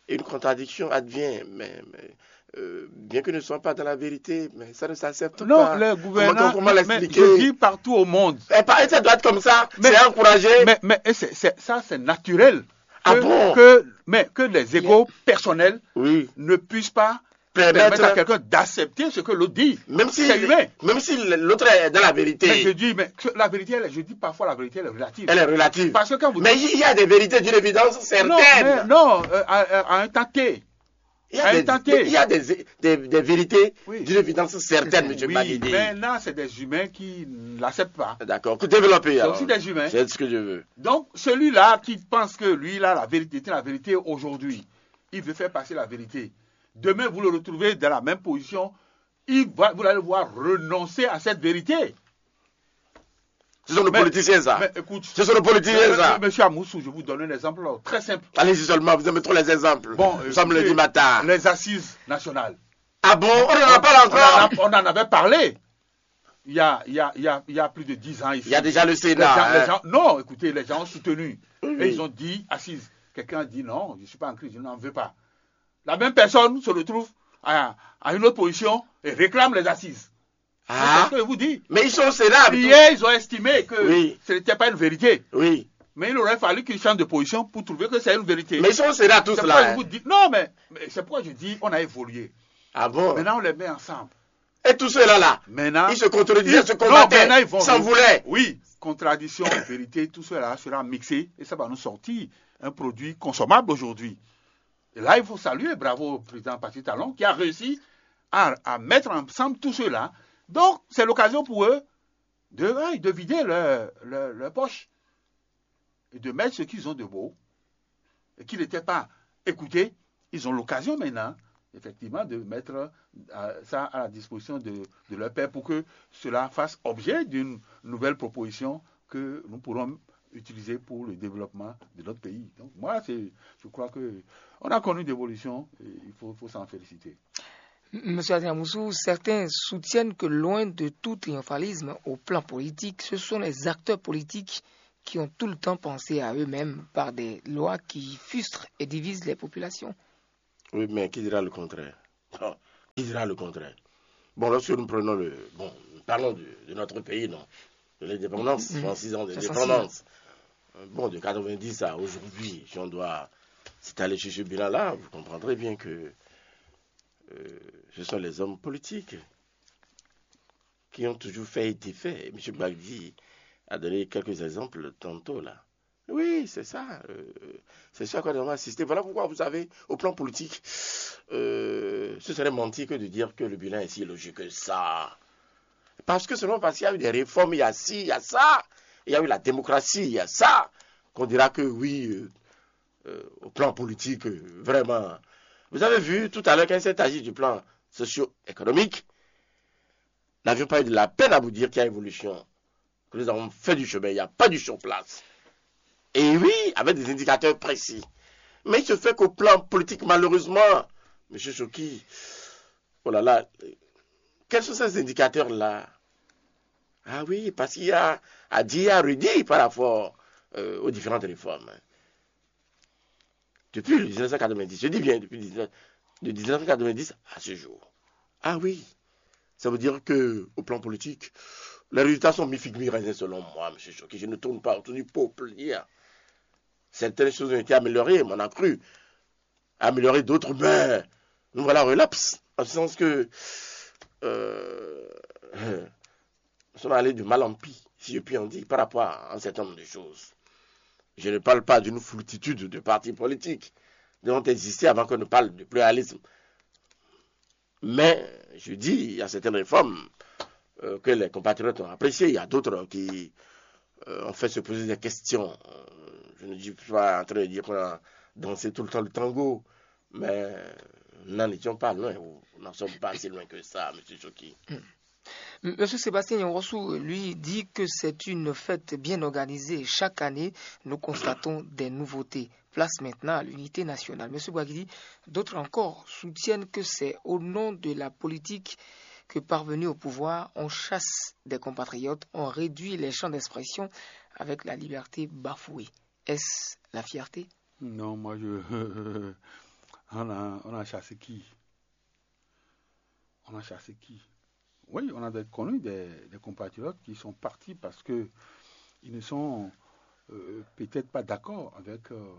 Une contradiction advient. Mais, mais, euh, bien qu'ils ne soient pas dans la vérité, mais ça ne s'accepte Non, pas. Les gouvernants. Comment, comment mais- mais l'expliquer? Je dis partout au monde. Et pas, et ça doit être comme ça. Mais- C'est encouragé. Mais, mais et c'est- c'est- ça, c'est naturel. Ah Que, bon? que- mais que les égos personnels Oui. Ne puissent pas Permettre- permettre à quelqu'un d'accepter ce que l'autre dit. Même si, C'est humain. Même si l'autre est dans la Mais je vérité. Dis, mais que la vérité, elle est- je dis parfois la vérité, elle est relative. Elle est relative. Parce que quand vous Mais il y a des vérités d'une évidence Non, certaine. mais non, euh, à, à- à un temps T. Il y a, à un des, temps T. il y a des, des, des vérités Oui. d'une évidence certaine, monsieur Oui, Gbagidi. Maintenant, c'est des humains qui ne l'acceptent pas. D'accord. Développez C'est alors. Aussi des humains. C'est ce que je veux. Donc, celui-là qui pense que lui, il a la vérité, c'est la vérité aujourd'hui, il veut faire passer la vérité. Demain, vous le retrouvez dans la même position. Il va, vous allez voir renoncer à cette vérité. Ce sont nos Mais- politiciens, ça. Mais écoute, Ce sont nos politiciens, euh, ça. Monsieur Amoussou, je vous donne un exemple très simple. Allez-y seulement, vous aimez trop les exemples. Bon, Nous sommes écoutez, lundi matin. Les assises nationales. Ah bon, on n'en a pas là On en, a- encore. On en avait parlé il y a, il y a, il y a, il y a plus de dix ans ici. Il y a déjà le Les Sénat. gens, les Hein. gens- non, écoutez, les gens ont soutenu. Oui, Et oui. Ils ont dit assises. Quelqu'un a dit non, je ne suis pas en crise, je n'en veux pas. La même personne se retrouve à, à une autre position et réclame les assises. C'est Ah. ce que je vous dis. Mais ils sont au Sénat. Hier, ils ont estimé que Oui. Ce n'était pas une vérité. Oui. Mais il aurait fallu qu'ils changent de position pour trouver que c'est une vérité. Mais ils sont au Sénat, tous C'est là. pourquoi je Hein. Vous dis, non, mais, mais c'est pourquoi je dis on a évolué. Ah bon. Maintenant, on les met ensemble. Et tous ceux-là, là, Maintenant, ils se contredisaient, ils- ils se non, combattaient, maintenant, ils vont- s'en voulaient. Oui, contradiction, vérité, tout cela sera mixé et ça va nous sortir un produit consommable aujourd'hui. Et là, il faut saluer, bravo au président Patrick Talon qui a réussi à, à mettre ensemble tout cela. Donc, c'est l'occasion pour eux de, ouais, de vider leur, leur- leur poche et de mettre ce qu'ils ont de beau et qui n'étaient pas écoutés. Ils ont l'occasion maintenant, effectivement, de mettre, euh, ça à la disposition de, de leur père pour que cela fasse objet d'une nouvelle proposition que nous pourrons utiliser pour le développement de notre pays. Donc moi, c'est, je crois que on a connu d'évolution et il faut, faut s'en féliciter. Monsieur Adriamoussou, certains soutiennent que loin de tout triomphalisme au plan politique, ce sont les acteurs politiques qui ont tout le temps pensé à eux-mêmes par des lois qui frustrent et divisent les populations. Oui, mais qui dira le contraire? Bon, qui dira le contraire? Bon, lorsque nous prenons le. Bon, nous parlons de, de notre pays, non? De l'indépendance, soixante-six ans d'indépendance. Bon, de quatre-vingt-dix à aujourd'hui, si on doit s'étaler sur ce bilan-là, vous comprendrez bien que euh, ce sont les hommes politiques qui ont toujours fait et défait. M. Gbagdi a donné quelques exemples tantôt là. Oui, c'est ça. Euh, c'est ça qu'on a assisté. Voilà pourquoi, vous savez, au plan politique, euh, ce serait mentir que de dire que le bilan est si élogieux que ça. Parce que seulement parce qu'il y a eu des réformes, il y a ci, il y a ça, il y a eu la démocratie, il y a ça, qu'on dira que oui, euh, euh, au plan politique, euh, vraiment. Vous avez vu tout à l'heure, quand il s'est agi du plan socio-économique, nous n'avions pas eu de la peine à vous dire qu'il y a évolution, que nous avons fait du chemin, il n'y a pas du sur place. Et oui, avec des indicateurs précis. Mais il se fait qu'au plan politique, malheureusement, M. Choki, oh là là, quels sont ces indicateurs-là? Ah oui, parce qu'il y a à dire, à redire par rapport euh, aux différentes réformes. Depuis le dix-neuf cent quatre-vingt-dix, je dis bien depuis dix-neuf, de dix-neuf cent quatre-vingt-dix à ce jour. Ah oui, ça veut dire que au plan politique, les résultats sont mi-figue, mi-raisin selon moi, M. Choki. Je ne tourne pas autour du peuple hier. Certaines choses ont été améliorées, mais on a cru améliorer d'autres, mais nous voilà relapse, en ce sens que euh, nous sommes allés de mal en pis, si je puis en dire, par rapport à un certain nombre de choses. Je ne parle pas d'une foultitude de partis politiques qui ont existé avant qu'on ne parle de pluralisme. Mais je dis, il y a certaines réformes euh, que les compatriotes ont appréciées, il y a d'autres qui euh, ont fait se poser des questions. Euh, Je ne suis pas en train de dire qu'on a dansé tout le temps le tango, mais nous n'en étions pas loin, ou nous n'en sommes pas si loin que ça, M. Choki. Monsieur Sébastien Nyawosou, lui, dit que c'est une fête bien organisée. Chaque année, nous constatons des nouveautés. Place maintenant à l'unité nationale. Monsieur Bouagidi, d'autres encore soutiennent que c'est au nom de la politique que, parvenus au pouvoir, on chasse des compatriotes, on réduit les champs d'expression avec la liberté bafouée. Est-ce la fierté? Non, moi je. On a, on a chassé qui? On a chassé qui? Oui, on a des, connu des, des compatriotes qui sont partis parce que ils ne sont euh, peut-être pas d'accord avec euh,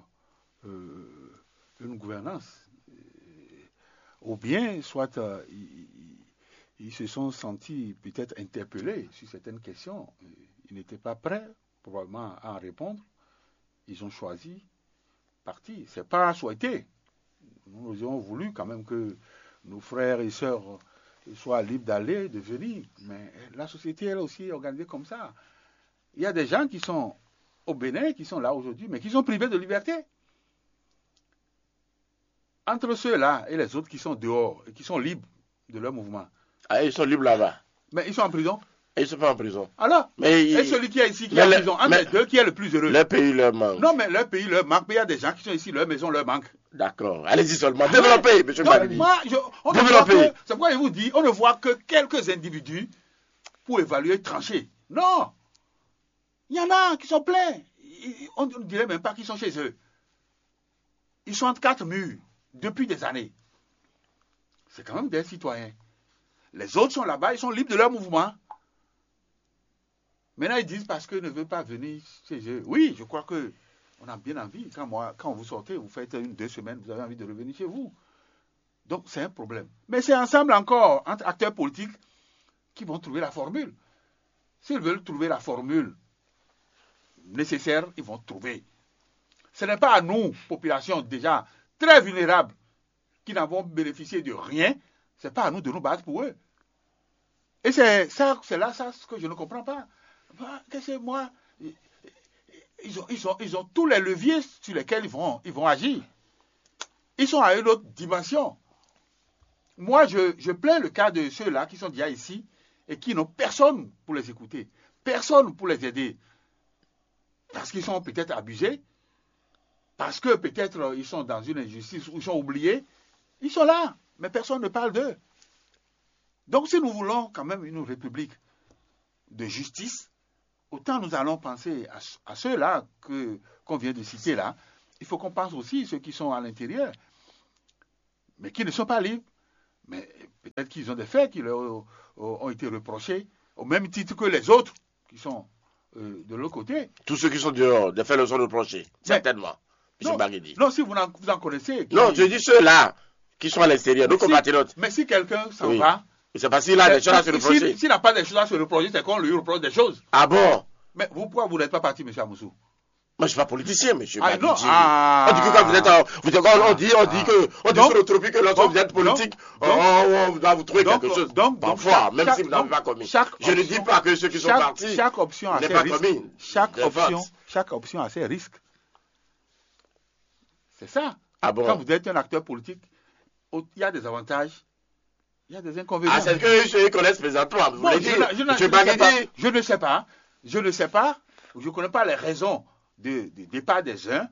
euh, une gouvernance. Euh, Ou bien, soit euh, ils, ils- ils se sont sentis peut-être interpellés sur certaines questions. Ils n'étaient pas prêts, probablement, à en répondre. Ils ont choisi partir. C'est pas souhaité. Nous aurions voulu quand même que nos frères et sœurs soient libres d'aller, de venir. Mais la société, elle aussi, est organisée comme ça. Il y a des gens qui sont au Bénin, qui sont là aujourd'hui, mais qui sont privés de liberté. Entre ceux-là et les autres qui sont dehors et qui sont libres de leur mouvement, Ah, ils sont libres là-bas. Mais ils sont en prison. Et ils sont pas en prison. Alors, Mais, et ils- celui qui est ici, qui mais est en le- prison, entre mais- les deux, qui est le plus heureux? Leur pays leur manque. Non, mais leur pays leur manque. Mais il y a des gens qui sont ici, leur maison leur manque. D'accord. Allez-y seulement. Développez, monsieur Donc, Malini. Moi, je, on ne Développez. voit que, c'est pourquoi je vous dis, on ne voit que quelques individus pour évaluer, trancher. Non. Il y en a qui sont pleins. Ils- On ne dirait même pas qu'ils sont chez eux. Ils sont entre quatre murs depuis des années. C'est quand même des citoyens. Les autres sont là-bas, ils sont libres de leur mouvement. Maintenant, ils disent parce qu'ils ne veulent pas venir chez eux. Oui, je crois que on a bien envie. Quand, moi, quand vous sortez, vous faites une, deux semaines, vous avez envie de revenir chez vous. Donc, c'est un problème. Mais c'est ensemble encore, entre acteurs politiques, qui vont trouver la formule. S'ils veulent trouver la formule nécessaire, ils vont trouver. Ce n'est pas à nous, population déjà très vulnérable, qui n'avons bénéficié de rien, c'est pas à nous de nous battre pour eux. Et c'est ça, c'est là ça ce que je ne comprends pas. Bah, qu'est-ce que moi, ils ont, ils, ont, ils ont tous les leviers sur lesquels ils vont, ils vont agir. Ils sont à une autre dimension. Moi, je, je plains le cas de ceux-là qui sont déjà ici et qui n'ont personne pour les écouter, personne pour les aider. Parce qu'ils sont peut-être abusés, parce que peut-être euh, ils sont dans une injustice ou ils sont oubliés. Ils sont là, mais personne ne parle d'eux. Donc, si nous voulons quand même une république de justice, autant nous allons penser à, à ceux-là que, qu'on vient de citer là. Il faut qu'on pense aussi à ceux qui sont à l'intérieur, mais qui ne sont pas libres. Mais peut-être qu'ils ont des faits qui leur ont été reprochés, au même titre que les autres qui sont euh, de l'autre côté. Tous ceux qui sont dehors, des faits leur sont reprochés, certainement. Non, si vous en, vous en connaissez. Non, je dis ceux-là qui sont à l'extérieur, nos compatriotes. Mais si quelqu'un s'en va. C'est parce qu'il a des choses à se reprocher. S'il n'a pas des choses à se reprocher, c'est qu'on lui reproche des choses. Ah bon? Mais vous, pourquoi vous n'êtes pas parti, M. Amoussou? Moi, je suis pas politicien, monsieur. Ah, non, On dit que quand vous êtes, en- vous êtes- on, on dit, on dit que, on dit sur le tropique que lorsque vous êtes politique, on, on doit vous trouver quelque chose. Parfois, même si vous n'avez pas commis. Je ne dis pas que ceux qui sont partis n'ont pas commis. Chaque option, chaque option a ses risques. C'est ça. Ah bon? Quand vous êtes un acteur politique, il y a des avantages, il y a des inconvénients. Ah, c'est ce que je connais présentement. Vous Bon, voulez je, dire, ne- je ne- monsieur je ne sais pas. Baguidi, Je ne sais pas. Je ne sais pas. Je ne connais pas les raisons de, de départ des uns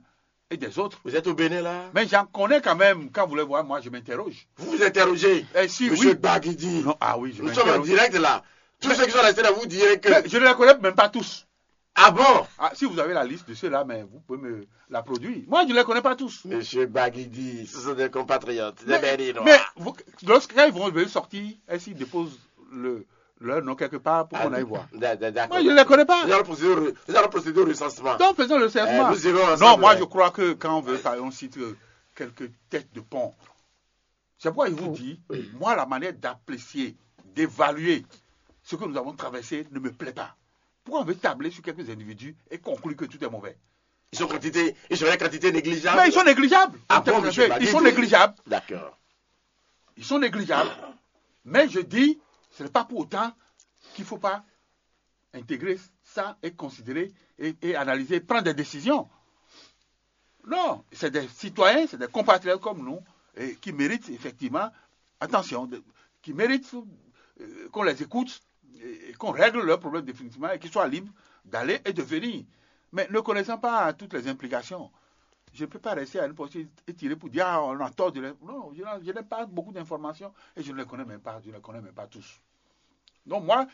et des autres. Vous êtes au Bénin là. Mais j'en connais quand même. Quand vous les voyez, moi, je m'interroge. Vous vous interrogez. Eh, si, Monsieur oui. Baguidi. Non, ah oui, je Nous sommes en m'interroge. Direct là. Tous ceux qui sont restés là, vous direz que. Mais je ne les connais même pas tous. Ah bon? Ah, si vous avez la liste de ceux-là, mais vous pouvez me la produire. Moi, je ne les connais pas tous. Monsieur Baguidi, ce sont des compatriotes, des Mais, Béninois. mais vous- lorsque quand ils vont venir sortir, est-ce qu'ils déposent le, leur nom quelque part pour qu'on aille voir? D'a- d'a- D'accord. Moi, je ne les connais pas. Nous allons procéder au re- nous allons procéder au recensement. Donc, faisons le Eh, recensement. nous irons ensemble. Non, moi, je crois que quand on veut, par exemple, on cite euh, quelques têtes de pont, c'est pourquoi je vous dis, moi, la manière d'apprécier, d'évaluer ce que nous avons traversé ne me plaît pas. Pourquoi on veut tabler sur quelques individus et conclure que tout est mauvais? Ils sont quantité, ils sont une quantité négligeable. Mais ils sont négligeables. Ah En termes bon, monsieur de fait, ils sont Baguidi. Négligeables. D'accord. Ils sont négligeables. Mais je dis, ce n'est pas pour autant qu'il ne faut pas intégrer ça et considérer et, et analyser, prendre des décisions. Non, c'est des citoyens, c'est des compatriotes comme nous et qui méritent effectivement, attention, de- qui méritent euh, qu'on les écoute et, et qu'on règle leurs problèmes définitivement et qu'ils soient libres d'aller et de venir. Mais ne connaissant pas toutes les implications, je ne peux pas rester à une portée étirée pour dire ah, on a tort de les... Non, je, n'en- je n'ai pas beaucoup d'informations et je ne les connais même pas, je ne les connais même pas tous. Donc moi,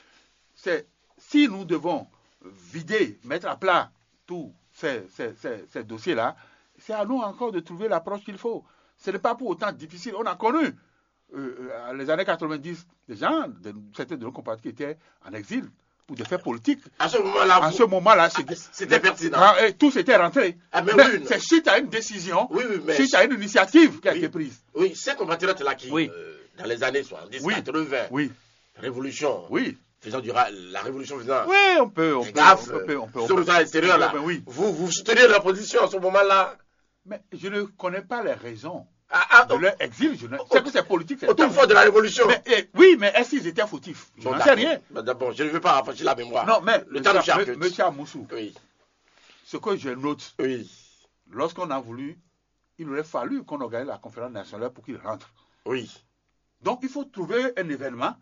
c'est si nous devons vider, mettre à plat tous ces, ces- ces- ces dossiers-là, c'est à nous encore de trouver l'approche qu'il faut. Ce n'est pas pour autant difficile. On a connu euh, euh, les années quatre-vingt-dix, des gens, de- certains de nos compatriotes qui étaient en exil pour des faits politiques. À ce moment-là, À vous- ce moment-là, Ah, c'était c'était pertinent. Ah, et tous étaient rentrés. Ah, mais Mais oui, une- c'est suite à une décision, Oui, oui, mais- suite à une initiative qui a Oui. été prise. Oui, ces compatriotes-là qui, Oui. euh, dans les années soixante-dix, Oui. quatre-vingts, Oui, révolution, oui. faisant du ra- la révolution faisant Oui, on peut, on des peut, gaffes, on peut, on peut, on sur peut. le terrain extérieur là, Oui, oui. vous, vous soutenez la position à ce moment-là. Mais je ne connais pas les raisons Ah, ah, de leur exil. Je ne... C'est que c'est politique, c'est Au temps fort de la révolution. Mais, eh, oui, mais est-ce qu'ils étaient fautifs? Je Bon, n'en sais d'accord. rien. Bon, d'abord, je ne veux pas rafraîchir la mémoire. Non, mais Le temps nous monsieur, charcute. monsieur Amoussou, Oui, ce que je note, oui, lorsqu'on a voulu, il aurait fallu qu'on organise la conférence nationale pour qu'il rentre. Oui. Donc il faut trouver un événement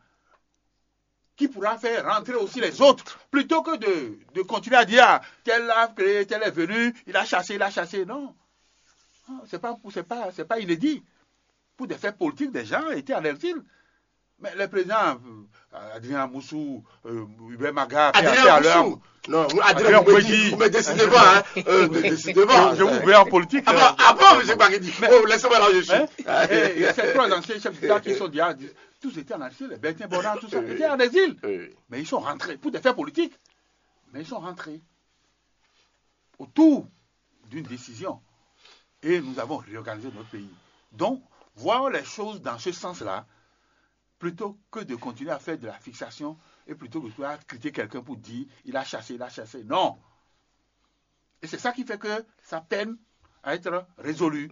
qui pourra faire rentrer aussi les autres, plutôt que de, de continuer à dire ah, tel a créé, tel est venu, il a chassé, il a chassé. Non. Non, c'est pas, c'est pas, c'est pas inédit. Pour des faits politiques, des gens étaient en exil. Mais les présidents, euh, Adrien Amoussou, euh, Hubert Maga, paix à- Adrien paix à leur Amoussou. Non, Adrien Adrien Mouedi, Mouedi. Vous me décidez pas, hein. Euh, ne décidez pas. Je, je vous verrai en politique. Ah euh, bon, ah bon, monsieur Baguidi. Mais- Oh, laissez-moi là où je suis. Hein? Et, et ces trois anciens chefs d'État qui sont déjà, tous étaient en exil, Bertin Bonnat, tout ça, Oui. étaient en exil. Oui. Mais ils sont rentrés pour des faits politiques. Mais ils sont rentrés autour d'une décision. Et nous avons réorganisé notre pays. Donc, voir les choses dans ce sens-là, plutôt que de continuer à faire de la fixation et plutôt que de continuer à critiquer quelqu'un pour dire il a chassé, il a chassé. Non. Et c'est ça qui fait que ça peine à être résolu.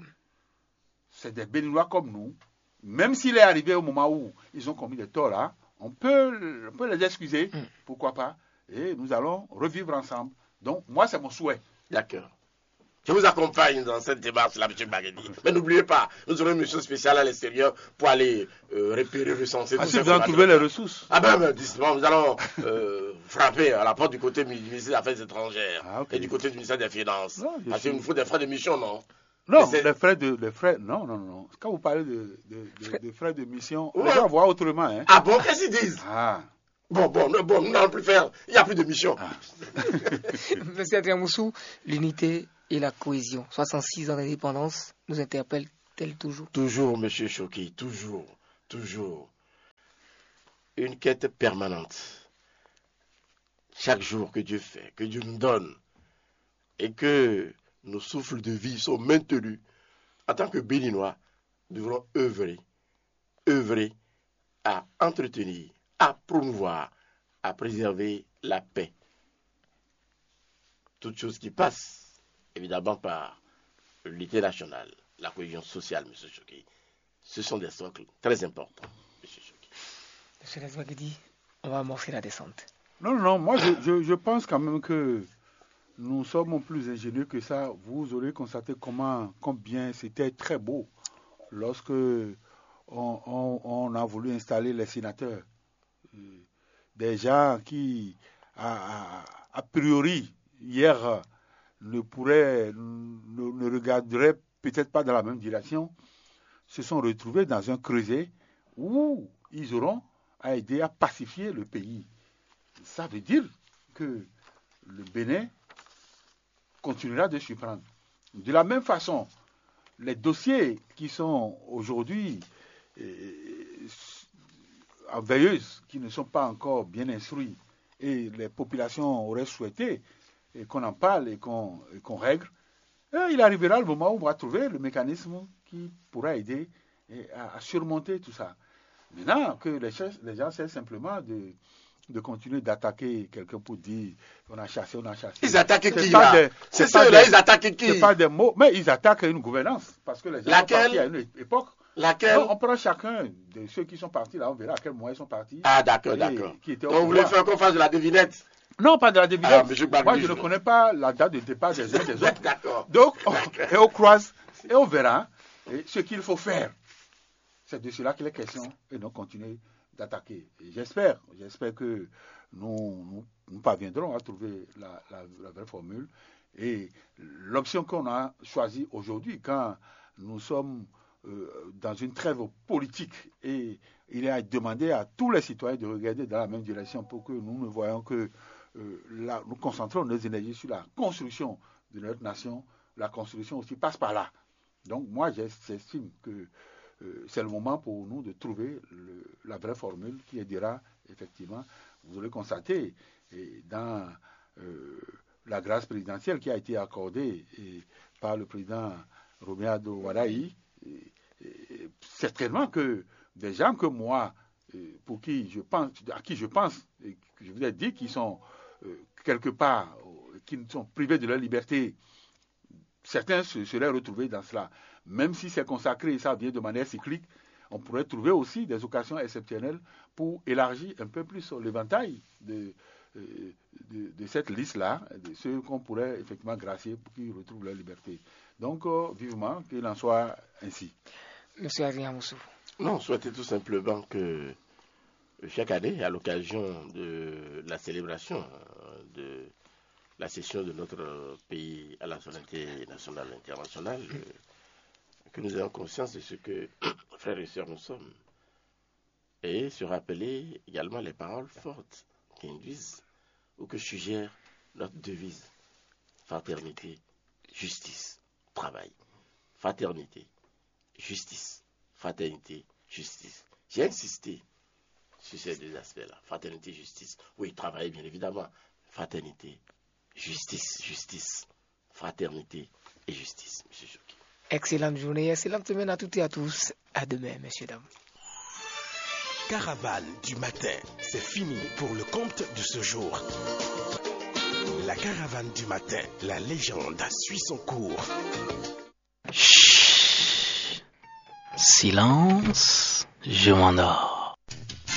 C'est des Béninois comme nous. Même s'il est arrivé au moment où ils ont commis des torts là, on peut, on peut les excuser. Pourquoi pas? Et nous allons revivre ensemble. Donc, moi, c'est mon souhait. D'accord. Je vous accompagne dans cette démarche-là, monsieur Baguidi. Mais n'oubliez pas, nous aurons une mission spéciale à l'extérieur pour aller euh, repérer, recenser Ah, tous si ces vous en compatriotes. trouvez les ressources. Ah ben, ben, justement, nous allons euh, frapper à la porte du côté du ministère des Affaires étrangères Ah, ok. Et du côté du ministère des Finances. Non, je Parce suis- qu'il nous faut des frais de mission, non? Non, les frais de, les frais, non, non, non. Quand vous parlez de, de, de, de frais de mission, on va voir autrement, hein. Ah bon, qu'est-ce qu'ils disent? Ah. Bon, bon, non, bon, nous n'allons plus faire. Il n'y a plus de mission. Monsieur Adrien Moussou, l'unité et la cohésion. soixante-six ans d'indépendance nous interpellent-elles toujours? Toujours, monsieur Choqué, toujours, toujours. Une quête permanente. Chaque jour que Dieu fait, que Dieu nous donne, et que nos souffles de vie sont maintenus, en tant que Béninois, nous devons œuvrer, œuvrer à entretenir, à promouvoir, à préserver la paix. Toute chose qui passe, évidemment, par l'unité nationale, la cohésion sociale, monsieur Choqué, ce sont des socles très importants, monsieur Choqué. Monsieur Lazouagidi, on va amorcer la descente. Non, non, non, moi je, je, je pense quand même que nous sommes plus ingénieux que ça. Vous aurez constaté comment, combien c'était très beau lorsque on, on- on a voulu installer les sénateurs. Euh, Des gens qui, a, a- a priori, hier, ne pourraient, ne, ne regarderaient peut-être pas dans la même direction, se sont retrouvés dans un creuset où ils auront à aider à pacifier le pays. Ça veut dire que le Bénin continuera de surprendre. De la même façon, les dossiers qui sont aujourd'hui euh, en veilleuse, qui ne sont pas encore bien instruits, et les populations auraient souhaité et qu'on en parle et qu'on et qu'on règle, euh, il arrivera le moment où on va trouver le mécanisme qui pourra aider et à, à surmonter tout ça. Maintenant, que les, cherchent- les gens cherchent simplement de, de continuer d'attaquer quelqu'un pour dire on a chassé, on a chassé. Ils attaquent C'est qui pas là? des- C'est c'est pas ceux-là, des- ils attaquent qui? C'est pas des mots, mais ils attaquent une gouvernance. Parce que les gens Laquelle? sont partis à une époque. Laquelle? Non, on prend chacun de ceux qui sont partis là, on verra à quel moment ils sont partis. Ah, d'accord, Et d'accord. qui était au Donc, vous voulez pouvoir. Faire qu'on fasse de la devinette? Non, pas de la devinette. Ah, monsieur Gbagbo, Moi, je je- ne connais pas la date de départ des uns des autres. D'accord. Donc, on- et on croise et on verra hein, ce qu'il faut faire. C'est de cela qu'il est question et non continuer d'attaquer. Et j'espère, j'espère que nous, nous, nous parviendrons à trouver la, la- la vraie formule. Et l'option qu'on a choisie aujourd'hui, quand nous sommes euh, dans une trêve politique et il est à demander à tous les citoyens de regarder dans la même direction pour que nous ne voyons que euh, là, nous concentrons nos énergies sur la construction de notre nation. La construction aussi passe par là. Donc moi, j'es- j'estime que euh, c'est le moment pour nous de trouver le- la vraie formule qui aidera effectivement. Vous allez constater et dans euh, la grâce présidentielle qui a été accordée et par le président Romuald Wadagni, et- et certainement que des gens que moi, euh, pour qui je pense, à qui je pense, et que je vous ai dit qu'ils sont euh, quelque part, euh, qui sont privés de leur liberté, certains se seraient retrouvés dans cela. Même si c'est consacré et ça vient de manière cyclique, on pourrait trouver aussi des occasions exceptionnelles pour élargir un peu plus l'éventail de, euh, de, de cette liste-là, de ceux qu'on pourrait effectivement gracier pour qu'ils retrouvent leur liberté. Donc, euh, vivement qu'il en soit ainsi. Monsieur Adrien Moussou. Non, souhaiter tout simplement que euh, chaque année, à l'occasion de la célébration euh, de la session de notre euh, pays à la souveraineté nationale et internationale, euh, que nous ayons conscience de ce que, frères et sœurs, nous sommes. Et se rappeler également les paroles fortes qui induisent ou que suggère notre devise: fraternité, justice, travail. Fraternité, justice. Fraternité, justice. J'ai insisté sur ces deux aspects-là. Fraternité, justice. Oui, travail, bien évidemment. Fraternité, justice, justice. Fraternité et justice, monsieur Choqué. Excellente journée, excellente semaine à toutes et à tous. À demain, messieurs, dames. Caravane du matin, c'est fini pour le compte de ce jour. La caravane du matin, la légende suit son cours. Chut. Silence, je m'endors.